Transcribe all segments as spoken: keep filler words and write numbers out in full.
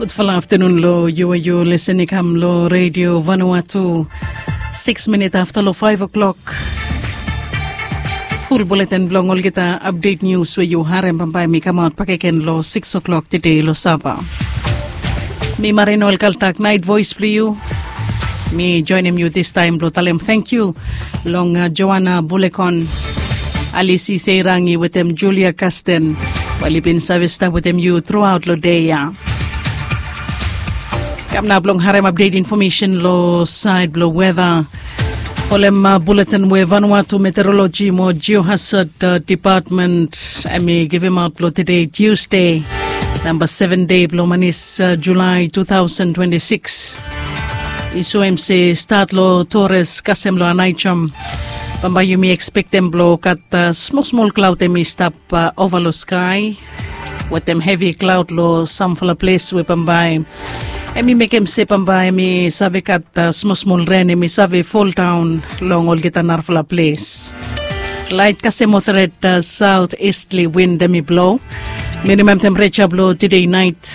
Gudfala aftanun long yu we yu lesen i kam long redio vanua tu. Sikis minit afta long faiv o'klok. Ful buleten blong olgeta apdet nius we yu harem bambae mi kamaot bakegen long sikis o'klok tede long sava. Mi marino el kaltak nait vois blong yu. Mi joinim yu distaem blong talem tangkiu long joana bulekon, alisi seirangi wetem julia kasten, we oli bin save stap wetem yu truaot long dei ya. Kam nao blong harem apdet infomesen long saed blong weta. Folem buletin we vanua tu meteoroloji mo jiohasad depatmen em i givimaot blong tede tiusde, namba seven dei blong manis, julae tu taosen twenti sikis. I soem se stat long tores kasem long anaejom, bambae yumi ekspektem blong gat smol smol klaod em i stap ova long skae, wetem hevi klaod long samfala ples we bambae em i mekem se bambae em i save gat smol smol ren em i save foldaon long olgeta narafala ples. Laet kasem oteret saot istli wind em i blo. Minimam tempereja blong tide naet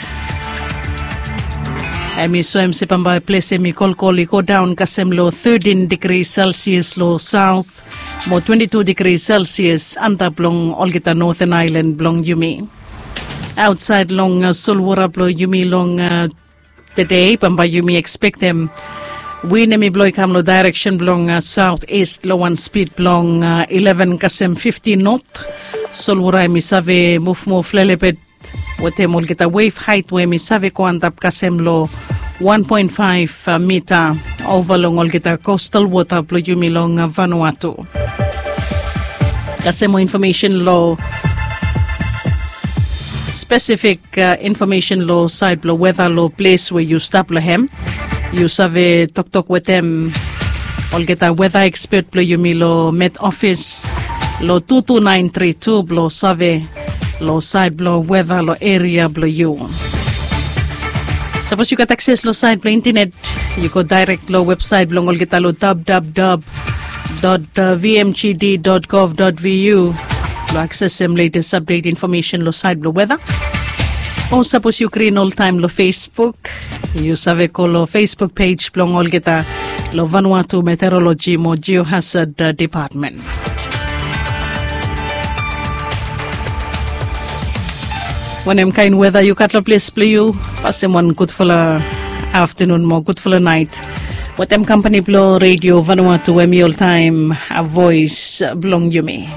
em i soem se bambae ples em i kolkol i godaon kasem long tetin digri selsias long saot mo twenti tu digri selsias antap long olgeta noten aelan blong yumi. Aotsaed long solwora blong yumi long tede bambae yumi ekspektem win em i blo i kam long daereksen blong saot ist long wan spid blong ileven kasem fifti not. Solwora em i save mufmuf lelebet wetem olgeta wev haet we em i save go antap kasem long wan poen faef mita ova long olgeta kostal wota blong yumi long vanua tu. Kasem mo infomesen long spesifik infomesen long saed blong weta long ples we yu stap long hem. Yu save toktok wetem olgeta weta ekspet blong yumi long met ofis long tu tu naen tri tu blong save long saed blong weta long eria blong yu. Sapos yu gat akses long saed blong intanet, yu go daerek long websaet blong olgeta long dabdabdab dot vmgd dot gov dot vu blong aksesem letes apdet infomesen long saed blong weta. O sapos yu grin oltaem long facebook, yu save go long facebook pej blong olgeta long vanua tu meteoroloji mo jiohasad depatmen. Wanem kaen weta yu gat long ples blong yu? Pasem wan gudfala aftanun mo gudfala naet wetem kampani blong redio vanua tu we mi oltaem a voes blong yumi.